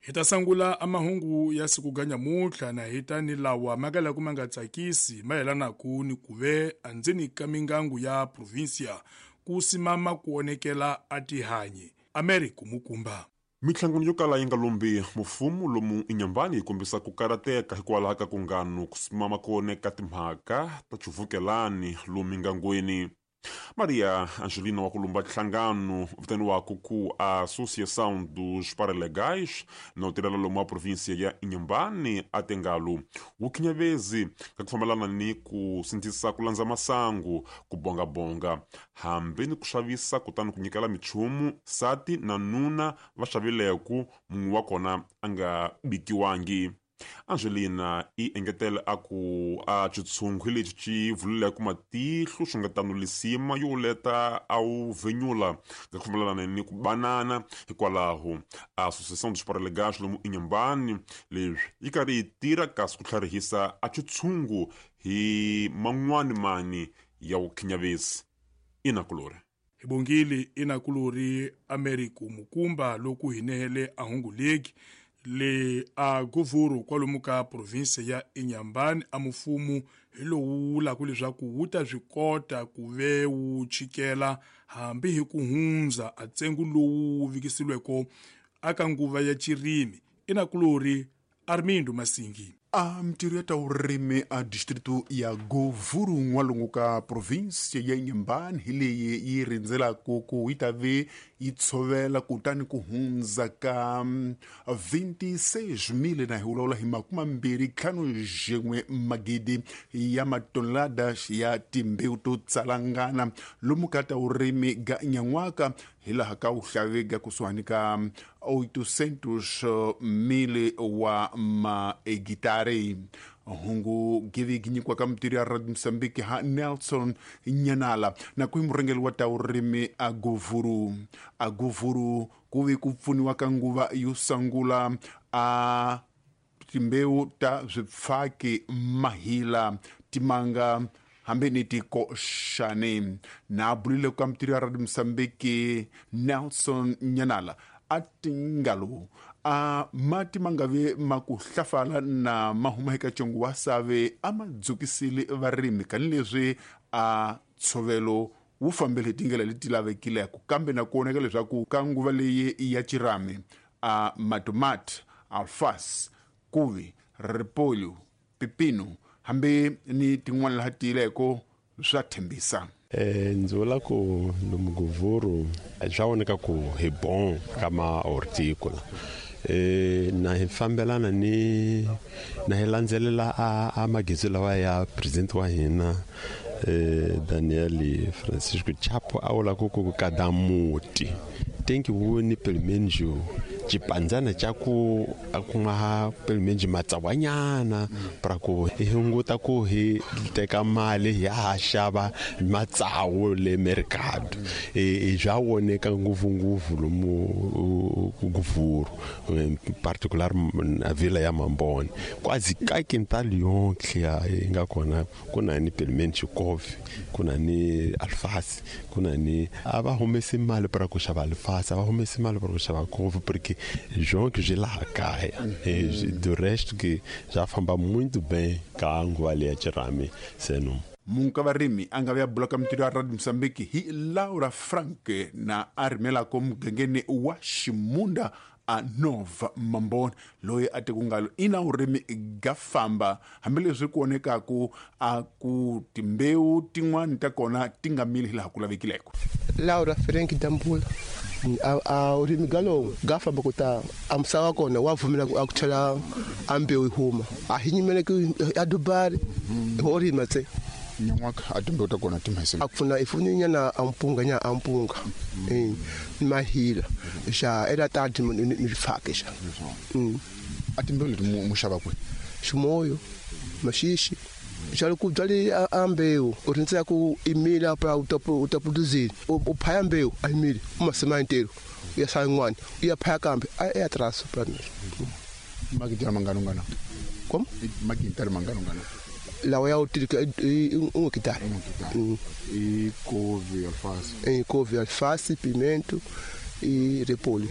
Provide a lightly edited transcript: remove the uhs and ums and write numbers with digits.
Hi ta sangula a mahungu ya siku ga nyamuntlha na hi ta ni lawa ma ka laku ma nga tsakisi mayelanaku ni kuve andzeni ka mingangu ya provincia ku simama ku onekela a tihanyi. Americo Mukumba. Minhlangano yo kala yi nga lombi mufumo lomu Inhambane yi kombisa ku karhateka hikwalaho ka ku ngano ku simama ku oneka timhaka ta xivukelani lomu mingangweni. Maria Angelina wa ku lumba nhlangano vitaniwaka ku Associação dos Paralegais na u tirhela lomu wa província ya Inhambane a tengalo wu khinyavezi ka ku fambelana ni ku sindzisa ku landza masangu, ku bongabonga hambi ni ku xavisa kutani ku nyikela michumu sati na nuna va xavileku mun'we wa kona a nga bikiwangi. Angelina i engetele a ku a xitshungu lexi xi vululeke matihlo swi nga tano lisima yo leta a wu venyula nga ku fambelana ni ku banana. Hikwalaho Associação dos Paralegais lomu Inhambane leswi yi karhi yi tirha kasi ku tlharihisa a xitshungu hi man'wani mani ya vukhinyavisi. Inakulori. Hi bongile inakulori Americo Mukumba loko hi nehele a hungu legi le a Govuro kwalomu ka province ya Inhambane a mufumo hi lowu vulaka leswaku wu ta swi kota ku ve wu chikela hambi hi ku hundza a ntsengo lowu wu vikisiweke aka nguva ya xirimi. Inakulori Armindo Masingi. A mintirho ya ta vurimi a distrito ya Govuru n'walungu ka province ya Inhambane hi leyi yi rindzelaka ku yi ta ve yi tshovela kutani ku hundza ka 26,000 na hi vulavula hi 25 magidi ya matonelada ya timbewu to tsalangana lomu ka ta vurimi ga nyan'waka hi laha ka wuhlavega kusuhani ka 800,000 wa mahegitari. Hungu givi nyikiwa ka mintirho ya Radio Mozambique ha Nelson Nyanala na ku hi murhangeri wa ta vurimi a Govuru. A Govuru ku ve ku pfuniwa ka nguva yo sungula a timbewu ta swipfaki, mahila, timanga hambi ni tikoxani. Na bulile ka mintirho ya Radio Mozambique Nelson Nyanala a tingalo a mati ma nga ve ma ku hlafala na ma huma eka congo wa save a ma dzukisile varimi kanileswi a ntshovelo wu fambele hi tindlela leti lavekileke, kambe na ku voneka leswaku ka nguva leyi ya xirhami a matomati, alfasi, kuvi, ripolyo, pipino hambi ni tin'wana laha tiyileko swa tshembisa. Ndzi vula ku lomu Govuru swa voneka ku hi bon ka ma horticola. Na hi fambelana ni na hi landzelela a magezi lawa ya president wa hina Daniel Francisco Chapo a vula ku ku kada muti tenki voni pelo menos xipandzana xa ku a ku nga pelo menos matsawanyana para ku hi hunguta ku hi teka mali hi ya ha xava matsawu le mercado. Bya voneka ngopfungopfu lomu Govuru, in particular na vila ya Mambone quase ka quintal yonke yi nga kona ku na ni pelo menos coffee, ku na ni alface, ku na ni a va humesi mali para ku xava alface, a va humesi mali para ku xava coffee porque jonke byi laha kaya. Do resto que já famba muito bem ka nguva leya xirhami seno. Munhu ka varimi a nga ve a bula ka mintirho ya Radio Mozambique hi Laura Frank na a rimelako mugangeni wa Ximunda a Nova Mambone loyi a te ku ngalo ina vurimi ga famba hambileswi ku vonekaku a ku timbewu tin'wani ta kona ti nga mili hilaha ku lavekileko. Laura Frank Dambula a vurimi ga lowu ga famba ku ta a misava kona wa pfumela a ku chela a mbewu yi huma a hi nyimele ku a dubari ho rima tse. Nyan'waka a timbewu ta kona ti mhese. A pfuna i funi nyana a mpunga nya a mpunga. Ni mahila xa era ta ti ni rifake xa. A timbewu leti mu xava kwihi? Ximoyo, maxixi. Xa ku byali a mbewu u rindzela ku i mila pa u ta u ta produce u phaya mbewu a mili u masima ntelo u ya sala yin'wana u ya phaya kambe a ya traso pra mina. Magintari mangano ngana? Kom? Magintari mangano ngana? Lawa ya u tirhisa i un hectare. I covi alface. I covi alface, pimento e repolho.